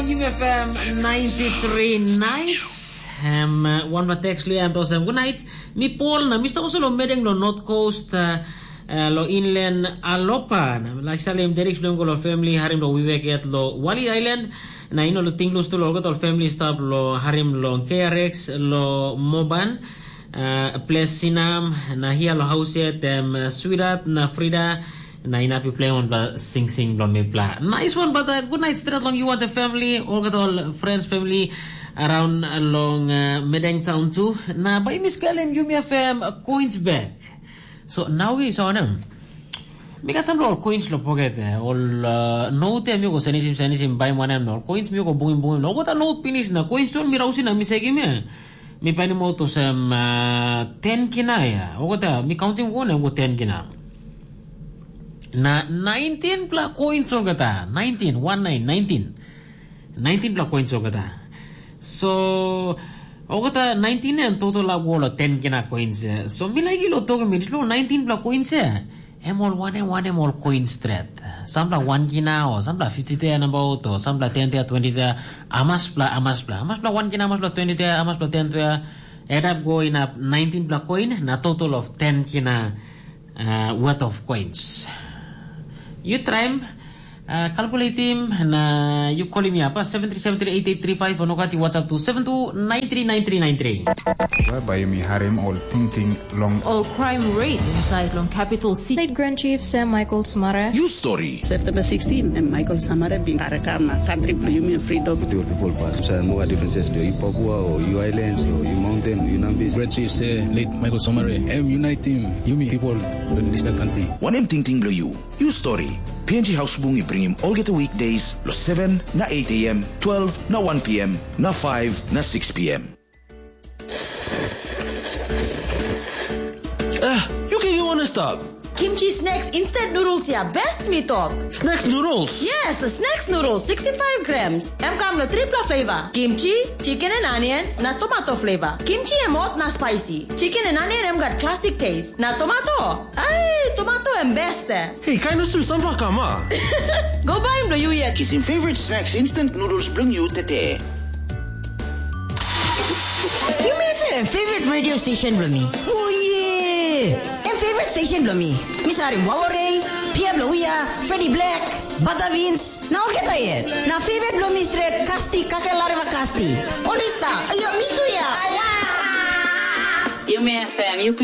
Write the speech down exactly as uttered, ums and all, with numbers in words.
Yumi F M ninety-three Nights. Em, uh, wanpela teks lu em tosem, "Good night. Mi Paul na mi stap olsem lo medeng lo North Coast, uh, uh, lo inland Alopa. Na mi laik salim Derek bilong go lo family harim lo Wewak yet lo Wali Island. Na ino lo ting lo stul olgeta ol family stap lo harim lo K R X lo Moban, uh, ples Sinam, na hia lo haus yet em, uh, Sweetheart na Frida, na inap yu play wanpela singsing bilong mipela. Nice one, but uh, good night straight long you and the family, olgeta ol friends, family around long uh, Medeng Town tu. Na bai mi skelim yumi F M coins back. So now we saw them. Mi gat sampela ol coins lo poket, eh, ol uh, note mi go senisim senisim bai wanem na ol coins mi go bungim bungim na olgeta note pinis na coins tu mi rausim na mi sekim ya. Mi painim aut olsem uh, ten kina ya. Olgeta mi counting go na go ten kina. Na nineteen pela coins olgeta, nineteen, one nine, nineteen. Nineteen pela coins olgeta. So, olgeta nineteen em total ap go lo ten kina coins. Eh. So, mi laik ilo tokim mi, lo nineteen pela coins eh. Em ol wanem wanem ol coins stret. Sampela one kina o sampela fifty te nabaut o sampela ten te twenty te. Amas pela, amas pela. Amas pela one kina, amas pela twenty te, amas pela ten te. Add up go inap nineteen pela coin na total of ten kina uh, worth of coins. You try uh, calculate him na you call him up uh, seven three seven three eight eight three five or nogat you WhatsApp to seven two nine three nine three nine three. Whereby you may harem all thinking long. All crime rate inside long capital city. State Grand Chief Sam Michael Sumara. You story. September sixteen, and Michael Samara bin karakam na country bilong yumi freedom. With your people pass. So no differences do you Papua or you islands or you mountain, you Nambis. Great Chief say late Michael Somare, em unite team, yumi people in this country. Wanem tingting bilong you? You story. P N G House Bung i bringim olgeta weekdays lo seven na eight a m, twelve na one p m, na five na six p m. Ah, you can you wanna stop? Kimchi snacks instant noodles ya best mi tok. Snacks noodles? Yes, snacks noodles sixty-five grams. Em kam lo tripla flavor. Kimchi, chicken and onion, na tomato flavor. Kimchi em hot na spicy. Chicken and onion em gat classic taste. Na tomato? Ai, tomato em best eh. Hey, kind of soon, some kama. Go buy him lo you yet. Kisim favorite snacks instant noodles bilong you tete. Yumi F M favorite radio station bilong mi. Oh yeah! Em favorite station bilong mi. Mi sarim Wawarei, Pia bilong Uya, Freddy Black, Bata Vince, na olgeta yet. Na favorite bilong mi stret, Kasti, Kake Lareva Kasti. Onista, ayo, mi tu ya. Ala! Yumi F M, you